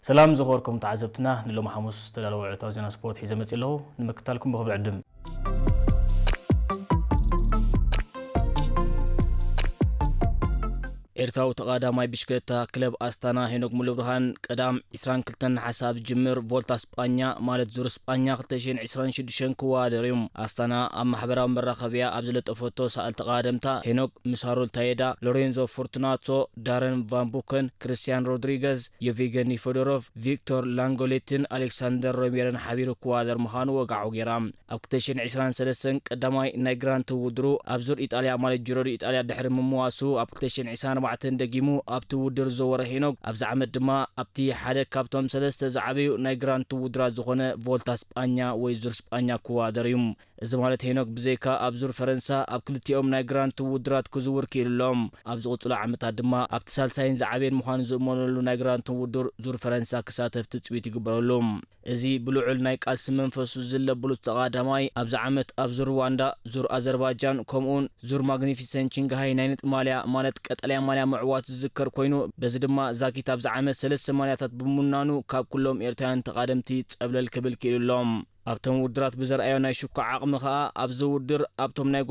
ሰላም ዝኸበርኩም ተዓዘብትና፣ ንሎሚ ሓሙስ ዝተዳለወ ዕለታዊ ዜና ስፖርት ሒዘ መጺእ ኣለኹ። ንምክታልኩም ብኽብሪ ዕድም። ኤርትራዊ ተቓዳማይ ብሽክለታ ክለብ ኣስታና ሄኖክ ሙሉብርሃን ቀዳም ዕስራን ክልተን ነሓሰ ኣብ ዝጅምር ቮልታ ስጳኛ፣ ማለት ዙር ስጳኛ ክልተ ሽሕን ዕስራን ሽዱሽተን ክወዳደር እዩ። ኣስታና ኣብ ማሕበራዊ መራኸቢያ ኣብ ዝለጠፈቶ ሰኣል ተቓደምታ፣ ሄኖክ ምስ ሃሮልድ ታየዳ፣ ሎሬንዞ ፎርቱናቶ፣ ዳረን ቫን ቡከን፣ ክርስቲያን ሮድሪገዝ፣ የቪገኒ ፎዶሮቭ፣ ቪክቶር ላንጎሌትን ኣሌክሳንደር ሮሜርን ሓቢሩ ክወዳደር ምዃኑ ወግዓዊ ገይራ። ኣብ ክልተ ሽሕን ዕስራን ሰለስተን ቀዳማይ ናይ ግራንድ ቱር ውድድሩ ኣብ ዙር ኢጣልያ፣ ማለት ጂሮ ዲ ኢጣልያ፣ ድሕሪ ምምዋሱ፣ ኣብ ክልተ ሽሕን ዕስራን ኣርባዕተን ደጊሙ ኣብቲ ውድድር ዝዘወረ ሄኖክ፣ ኣብዚ ዓመት ድማ ኣብቲ ሓደ ካብቶም ሰለስተ ዝዓበዩ ናይ ግራንድ ቱር ውድድራት ዝኾነ ቮልታ ስጳኛ ወይ ዙር ስጳኛ ክወዳደር እዩ። እዚ ማለት ሄኖክ ብዘይካ ኣብ ዙር ፈረንሳ ኣብ ክልቲኦም ናይ ግራንድ ቱር ውድድራት ክዝውር ክኢሉ ኣሎ። ኣብ ዝቕጽሉ ዓመታት ድማ ኣብቲ ሳልሳይን ዝዓበየን ምዃኑ ዝእመነሉ ናይ ግራንድ ቱር ውድድር ዙር ፈረንሳ ክሳተፍ ትጽቢት ይግበረሉ። እዚ ብልዑል ናይ ቃልሲ መንፈሱ ዝለብሉ ተቓዳማይ ኣብዚ ዓመት ኣብ ዙር ሩዋንዳ፣ ዙር ኣዘርባይጃን ከምኡውን ዙር ማግኒፊሰንት ቺንግሃይ ናይ ነጥቢ ማልያ፣ ማለት ቀጠልያ ማልያ ምዕዋቱ ዝዝከር ኮይኑ፣ በዚ ድማ ዛጊት ኣብዚ ዓመት ሰለስተ ማልያታት ብምውናኑ ካብ ኩሎም ኤርትራውያን ተቓደምቲ ጸብለል ክብል ክኢሉ ኣሎ። ኣብቶም ውድድራት ብዘርኣዮ ናይ ሽኩዓ ዓቕሚ ከኣ ኣብዚ ውድድር ኣብቶም ናይ